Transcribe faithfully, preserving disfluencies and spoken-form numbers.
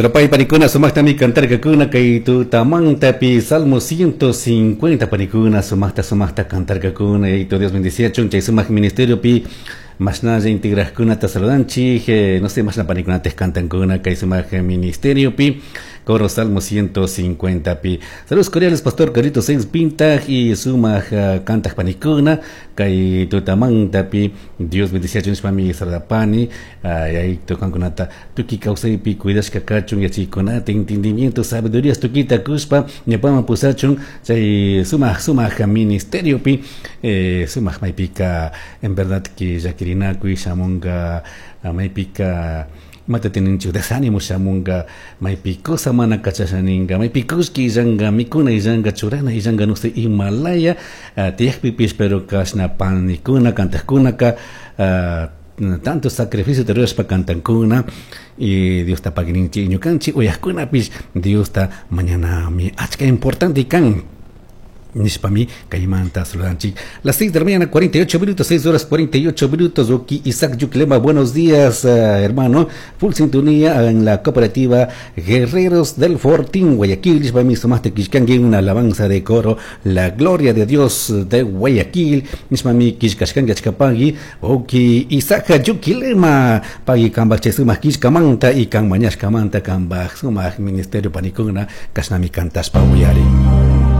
Rupay panikuna sumaqtami cantarkakuna kay tutamantapi Salmo ciento cincuenta panikuna sumaqta sumaqta cantarkakuna. Yayito Dios bendiciachun chay sumaq ministeriopi mashnalla integraqkunata saludanchik, eh, no sé, mashna panikunata cantankuna kay sumaq ministeriopi coro Salmo ciento cincuenta pi. Saludos cordiales, pastor Carlitos Seis Pintaj y sumaq uh, cantaq panikuna kay tutamantapi. Dios bendiciachun nishpami saludapani. Yayito kankunata tukuy kawsaypi cuidashka kachun, yachaykunata, entendimiento, sabiduría tukita kushpa ñawpaman pusachun chay sumaq sumaq ministeriopi, eh, sumaq maypika en verdad que llakirinakuy shamunga, maypika imata tininchik desánimo shamunga, maypi cosa mana kachasha ninga, maypi kullki illanga, mikuna illanga, churana illanga, no sé, imalaya uh, tiyakpipish, pero kashna panikuna kantakkunaka uh, tanto sacrificio rurashpa cantankuna y Diosta paguininchik, ñukanchik uyaqkunapish Diosta mañanami achka importante kan nishpami kaymanta saludanchik. Las seis de la mañana, cuarenta y ocho minutos, seis horas cuarenta y ocho minutos. Oki Isaac Yuclema, buenos días, uh, hermano. Full sintonía en la cooperativa Guerreros del Fortín, Guayaquil. Nishpami sumaqta killkanki una alabanza de coro, La Gloria de Dios de Guayaquil. Nishpami killkashkanki achkapagui. Oki Isaac Yuquilema, pagui kambaj chay sumaq killkamanta y kan mañashkamanta kambaj sumaq ministerio panikuna kashnami kantashpa uyarin.